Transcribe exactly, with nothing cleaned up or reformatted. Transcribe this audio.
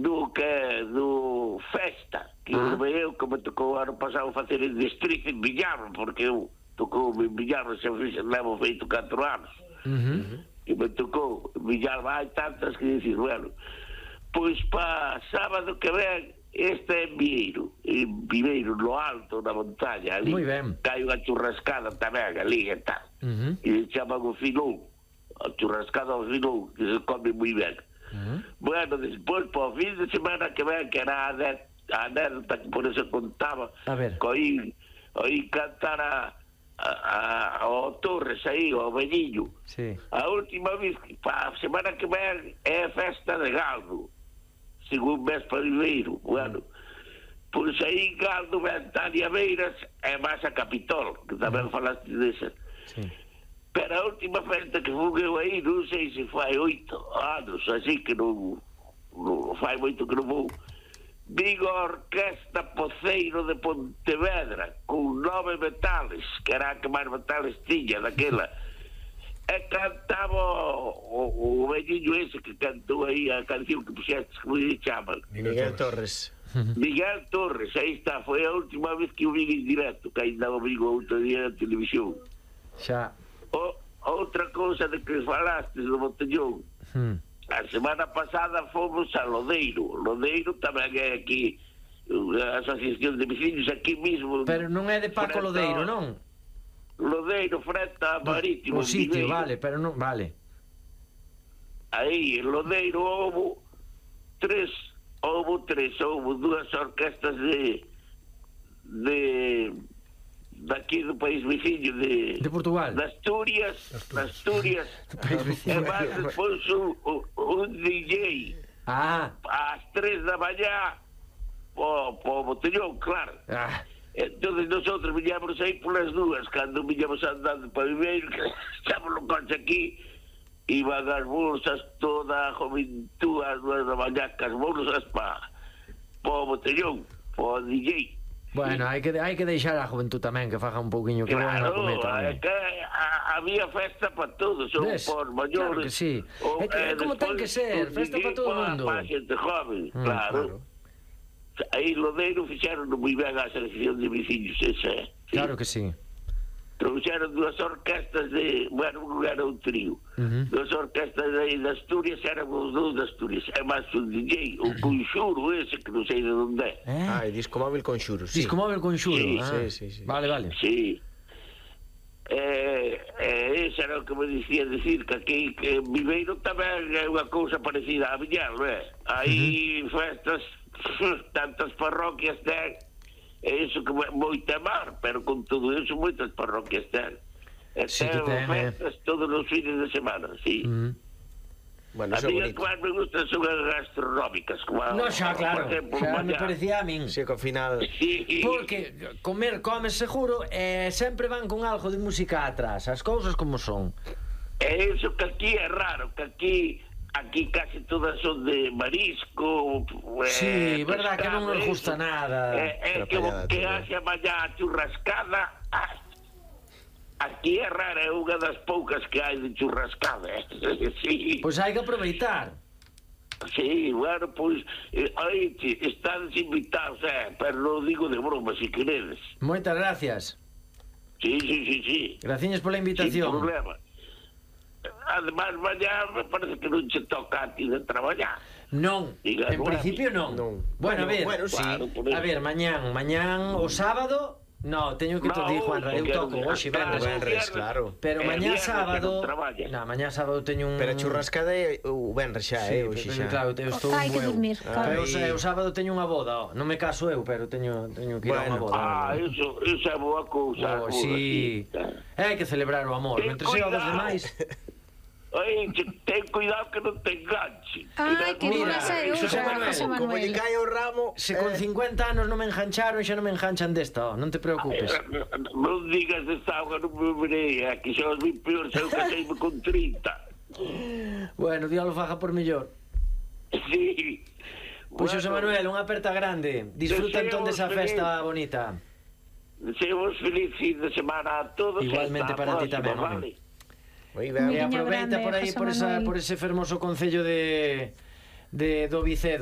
do que do Festa, que ah. eu que me tocou ano pasado facer en Distrito en Villarro, porque eu tocou en Villarro, xa levo feito catro anos. Uh-huh. E me tocou en Villarro, hai tantas que dicir, bueno, pois pa sábado que ven, este é en Vieiro, en Viveiro, no alto, na montaña, ali. Moi ben. Hai unha churrascada tamén, ali e tal. Uh-huh. E chaman o Filón, a churrascada ao Filón, que se come moi ben. Uh-huh. Bueno, despois, po fin de semana que ven, que era a anécdota que por eso contaba, que oí, oí cantar a, a, a, ao Torres aí, ao velliño. Sí. A última vez, pa a semana que ven, é a festa de Galdo, según mes para Viveiro. Bueno, pois aí Galdo ven Tania Beiras e máis a Capitol, que tamén falaste desa. Sí. Pero a última festa que fui eu aí, non sei se fai oito anos, así que non, non fai moito que non vou. Digo a Orquesta Poceiro de Pontevedra, con nove metales, que era a que máis metales tiña daquela. E cantaba o, o velliño ese que cantou aí a canción que puxestes, como se chaman? Miguel Torres. Miguel Torres, aí está, foi a última vez que o vi en directo, que ainda o vi outro día na televisión. Xa. O, outra cousa de que falaste do Botellón, hmm. a semana pasada fomos a Lodeiro. Lodeiro tamén é aquí, a Asociación de Veciños, aquí mismo. Pero non é de Paco Lodeiro, non? Lodeiro, frente a Marítimo. O sitio, vale, pero non, vale. Aí, en Lodeiro, houve tres, houve tres, houve dúas orquestas de de daqui do país veciño de... De Portugal. De Asturias, de Asturias. E máis despois un, un D J. Ah. Ás tres da mañá, po, po Botellón, claro. Ah. Entonces nosotros viñamos aí polas dúas, cando viñamos andando para Viveiro, que estamos no coche aquí, iban as bolsas toda a juventud ás dúas da mañá, que as bolsas pa po Botellón, po D J. Bueno, hai que hai que deixar a juventud tamén que faga un pouquiño que claro, van a comer tamén. É que a, había festa para todos, ou por maiores. Claro que sí. O, é que é como ten que ser, festa para todo o mundo. Para xente joven, mm, claro. claro. Aí Lodeiro fixeron moi ben a selección de veciños, esa é. Sí. Claro que sí. Trouxeron dúas orquestas de... Bueno, non era un trío. Uh-huh. Dúas orquestas de, de Asturias, eran os dous de Asturias. É máis un D J, o Conxuro ese, que non sei de onde é. Eh? Ah, Disco Móvil Conxuro, sí. Disco Móvil Conxuro, sí. Ah. Sí, sí, sí. Vale, vale. Sí. Eh, eh, ese era o que me dicía decir, que aquí que Viveiro tamén é unha cousa parecida a Viñar, non é? Aí uh-huh. festas, tantas parroquias ten, e iso que moita mar, pero con todo iso moitas parroquias ten. E sí, ten ten festas eh. todos os fines de semana, sí. Uh-huh. Bueno, a mí as que máis me gustan son as gastronómicas, como no, xa, claro, ejemplo, xa me parecía a min. Sí, que ao final... Sí. Porque comer, comes seguro, e eh, sempre van con algo de música atrás, as cousas como son. E iso que aquí é raro, que aquí... Aquí casi todas son de marisco. Sí, eh, verdad que non nos gusta nada. É eh, eh, que, que haxe mañá churrascada. Ah, aquí é rara, é unha das poucas que hai de churrascada. Eh. Sí. Pois pues hai que aproveitar. Sí, bueno, pois pues, eh, aí están invitados, eh, pero non digo de broma, se queredes. Moitas gracias. Sí, sí, sí, sí. Graciñas pola invitación. Sin problema. Además, mañá me parece que non se toca a ti de traballar. Non, diga, en principio non. non. Bueno, a ver, bueno, sí. Claro, a ver, mañán, mañán o sábado, no, teño que no, te digo, Juanra, eu toco hoxe venres, venres, claro. Pero mañá sábado, no, mañá sábado teño un... Pero a churrascada é o venres xa, sí, é hoxe xa. Claro, eu estou hai que dormir, claro. O sábado teño unha boda, non me caso eu, pero teño teño que ir a unha boda. Ah, iso, iso é boa cousa. Oh, sí. Hai que celebrar o amor, mentre sea dos demais. Ai, ten cuidado que non te enganche. Ai, que mira, José Manuel, como lle cae o ramo, se con cincuenta anos non me engancharon, xa non me enganchan desta, oh, non te preocupes. Non digas desta auga, non me verei, que xa os vi peor, xa eu caseime con trinta. Bueno, Dios lo faja por mellor. Sí. Pois, José Manuel, unha aperta grande. Disfruta entón desa festa bonita. Deseamos feliz fin de semana a todos. Igualmente para ti tamén, vale. E aproveita por aí por, esa, por ese fermoso concello de, de do Vicedo.